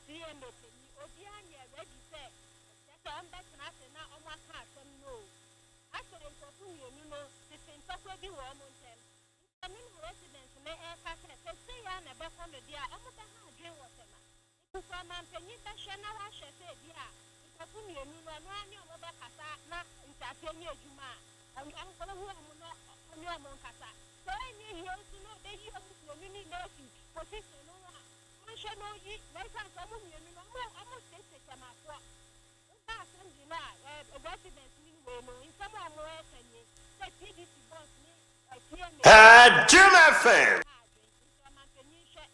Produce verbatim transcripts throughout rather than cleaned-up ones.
T M A panyin, obiara nyɛ ready sɛ ɛkyerɛ sɛ ɔmbɛtena ase na ɔmo aka asɛm no o. Asɛ nkurɔfo mmienu no tete ntɔkwa bi wɔ ɔmo ntɛm, nti ɛno na residents no ɛreka sɛ sɛ sei a na ɛbɛkɔ no deɛ a, ɔmo bɛha adwene wɔ Tɛma. Nti sɛ ɔmampanyin bɛhwɛ na wahwɛ sɛ ebi a nkurɔfo mmienu no, ɔno ara ne ɔmo bɛkasa na ntaseɛ nyɛ adwuma a, ɔhu ɔmo na ɔne ɔmo nkasa. Sɛ ɛnyɛ yie nso na ɔbɛyi ɔmo mmienu no nyinaa afi position no ho a, ɔnhwɛ na ɔyi, na ɛsiane sɛ ɔmo mmienu no ɔmo ɔmo tete Tɛmafoɔ woba assembly no a, ɛɛ residents ni wei no, nsɛm a ɔmo ɛka nie sɛ T D C boss ne T M A Jim F M. Ha adwene. Nti ɔmampanyin hwɛ,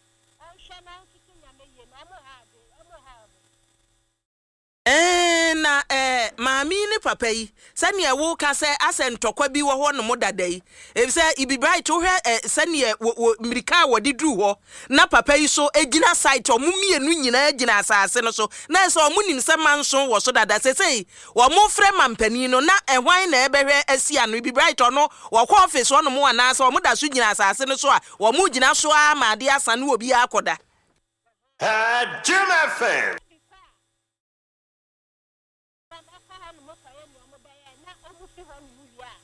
ɔnhwɛ na ɔntoto nyame yie na ɔmo ha adwene, ɔmo ha ɔmo. Ɛɛ, na ɛɛ maame yi ne papa yi, sɛnea woka sɛ asɛ ntɔkwa bi wɔ hɔ nom dada yi, efisɛ Ibi Bright, wohwɛ ɛ sɛnea wɔ wɔ mmirika a wɔde duru hɔ na papa yi so gyina site, ɔmo mmienu nyinaa gyina asase no so na ɛsɛ ɔmo nim sɛ manso wɔ so dada. Sesei wɔn frɛ mampanin no na ɛhwan na ɛbɛhwɛ asi ano? Ibi Bright, ɔno wɔkɔ office hɔnom anaasɛ ɔmo da so gyina asase no so a wɔn gyina so ara ma adeɛ asa no, obi akɔda? Jim F M. Ɛkɔ hɔ nom kɔyɛ nea ɔmo bɛyɛ na ɔmo fi hɔ nom wie a,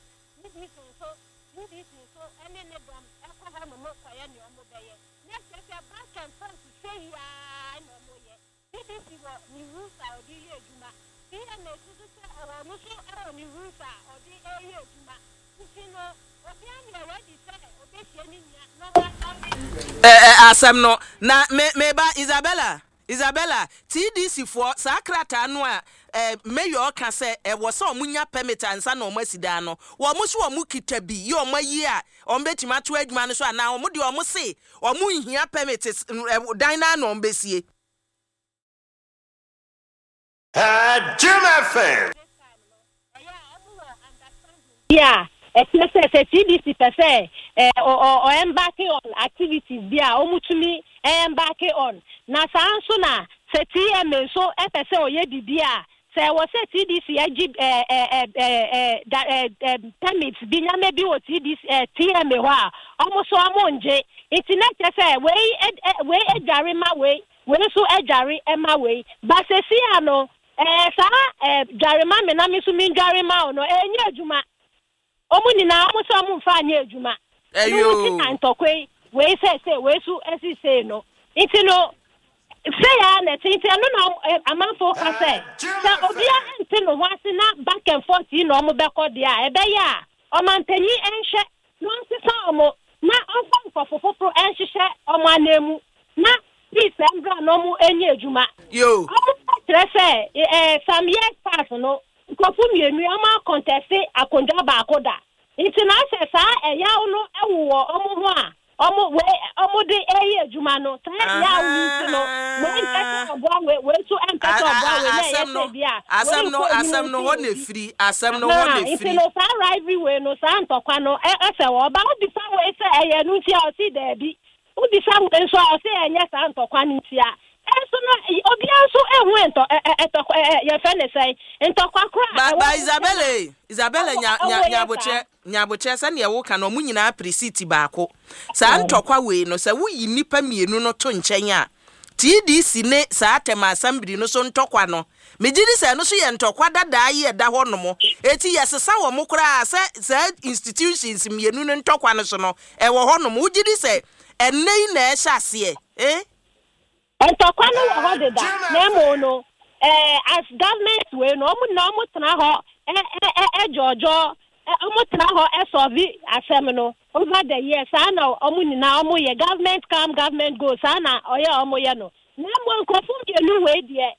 T D C nso T D C nso ɛne ne dɔm ɛkɔ hɔ nom kɔyɛ nea ɔmo bɛyɛ, na kyerɛ sɛ back and forth hwɛ yiaa na ɔmo yɛ. T D C wɔ ne rules a ɔde yɛ adwuma, T M A nso sɛ ɔwɔ ɔno nso ɛwɔ ne rules a ɔde ɛyɛ adwuma, nti no obiara nyɛ ready sɛ ɔbɛhyia ne nua na ɔmo ɔmo ɛ ɛ asɛm no na me meba Isabella, Isabella, T D C foɔ saa krataa no a ɛ mayor ka sɛ ɛwɔ sɛ ɔmo nya permit ansa na ɔmo asi dan no, wɔn so ɔmo kita bi yi, ɔmo ayi a ɔmo bɛtumi ato adwuma no so, anaa ɔmo deɛ ɔmo se ɔmo nhia permit ɛ dan naa na ɔmo bɛsie? Jim F M. This time no, ɛyɛ a ɔmo wɔ understanding bi a ɛkyerɛ sɛ sɛ T D C pɛ sɛ ɛ ɔ ɔ ɔ embark on activities bi a, ɔmo tumi embark on, na saa nso na sɛ T M A nso ɛpɛ sɛ ɔyɛ biribi a, sɛ ɛwɔ sɛ T D C agye ɛ ɛ ɛ ɛ ɛ da ɛ ɛ permit bi, nyame bi wɔ T D C ɛ T M A hɔ a, ɔmo so ɔmo ngye. Nti na kyerɛ sɛ wei ɛ ɛ wei adware ma wei, wei nso adware ɛma wei ba. Sɛsi ano ɛɛ saa ɛɛ dware ma me na me nso mi dware ma wo no, ɛnyɛ adwuma. Ɔmo nyinaa ɔmo sɛ ɔmo nfa anyɛ adwuma. Ɛyo. Ɛno ti na ntɔkwa yi, wei sɛ sɛ wei so ɛsi sei no, nti no sɛ ya na ɛte. Nti ɛno na ɔmo- ɛ, amanfoɔ ka sɛ sɛ obiara nte ne ho ase na back and forth yi na ɔmo bɛkɔ deɛ a, ɛbɛyɛ a ɔmanpanyin ɛnhwɛ na ɔnsesa ɔmo na ɔmfa nkɔfo foforɔ ɛnhyehyɛ ɔmo ananmu na peace ɛmbra na ɔmo ɛnyɛ adwuma. Yo. Ɔmo kyerɛ sɛ ɛɛ some years past no, nkurɔfo mmienu yi, ɔmo a contest akonnwa baako da, nti na asɛ saa ɛyaw no ɛwowɔ ɔmo ho a ɔmo wei ɔmo de ɛyɛ adwuma no. Saa ɛyaw no nti no, wei mpɛ sɛ ɔboa wei, wei nso ɛmpɛ sɛ ɔboa wei, na ɛyɛ Asɛm no sɛ bi a asɛm wei no nkɔ anim asɛm no nti hɔ na obi efiri asɛm no hɔ na Aha, nti efiri. no saa rivalry wei no, saa ntɔkwa no ɛ ɛsɛ wɔ ɔba. Wobisa wei sɛ ɛyɛ no nti a, ɔsi daabi. Wobisa wei nso a, ɔsi ɛnyɛ saa ntɔkwa no nti a. Ɛnso no ɛ- obiara nso ehu ntɔ ɛ ɛ ɛtɔkwa ɛ ɛ yɛfɛ ne sɛn, ntɔkwa koro a ba ɛwɔ ba wɔn Isabella e, Isabella, ɔmo nya nya ɔmo yɛ nyabotrɛ nyabotrɛ sɛnea woka no, ɔmo nyinaa pere seat baako. Saa ntɔkwa wei no, sɛ woyi nnipa mmienu no to nkyɛn a, T D C ne saa Tɛma assembly no so ntɔkwa no, megye di sɛ ɛno so yɛ ntɔkwa dadaa yi ɛda hɔ nom. Eti yɛsesa wɔ mo koraa sɛ saa institutions mmienu no ntɔkwa no so no ɛwɔ hɔ nom. Wogye di sɛ ɛnnɛ yi na ɛhyɛ aseɛ eh? Ntɔkwa no wɔ hɔ deda, na emo no ɛɛ as government wei no, ɔmo na ɔmo tena hɔ ɛ ɛ ɛ ɛdzɔdzɔ ɛ ɔmo tena hɔ ɛ solve asɛm no over the years. Saa na ɔmo nyinaa ɔmo yɛ, government come, government go, saa na ɔyɛ ɔmo yɛ no. Na emo nkurɔfo mmienu wei deɛ,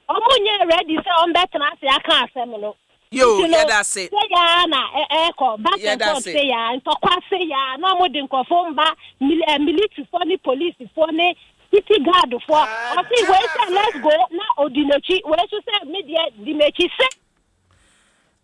ɔmo nyɛ ready sɛ ɔmo bɛtena ase aka asɛm no. Yo. Nti no, Yɛda ase. Sɛ yaa na ɛ ɛkɔ back and Yɛda forth ase. sɛ yaa ntɔkwa sɛ yaa na ɔmo de nkurɔfo mba mil ɛ militaryfoɔ ne policefoɔ ne city guardfoɔ. Ɔsi wei sɛ let's go na odi n'akyi, wei nso sɛ mi deɛ di m'akyi sɛ.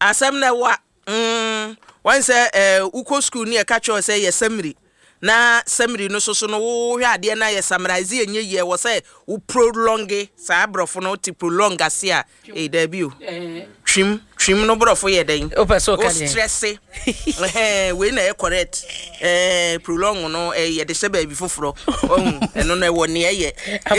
Asɛm na ɛwɔ a mm, wɔn sɛ ɛɛ wokɔ school ne yɛka kyerɛ wo sɛ yɛ summary, na summary no soso no, wohwɛ adeɛ na yɛ summarize, ɛnyɛ yie. Wɔ sɛ wo prolong saa borɔfo no, wote prolong ase a, ee, daabi o, twim twim no borɔfo yɛ dɛn? Wopɛ sɛ woka wo deɛn? stress ɛhɛn wei na ɛyɛ correct. ɛɛ prolong no, ɛɛ yɛde hyɛ baabi foforɔ. Ɔhu ɛno no ɛwɔ nea ɛyɛ.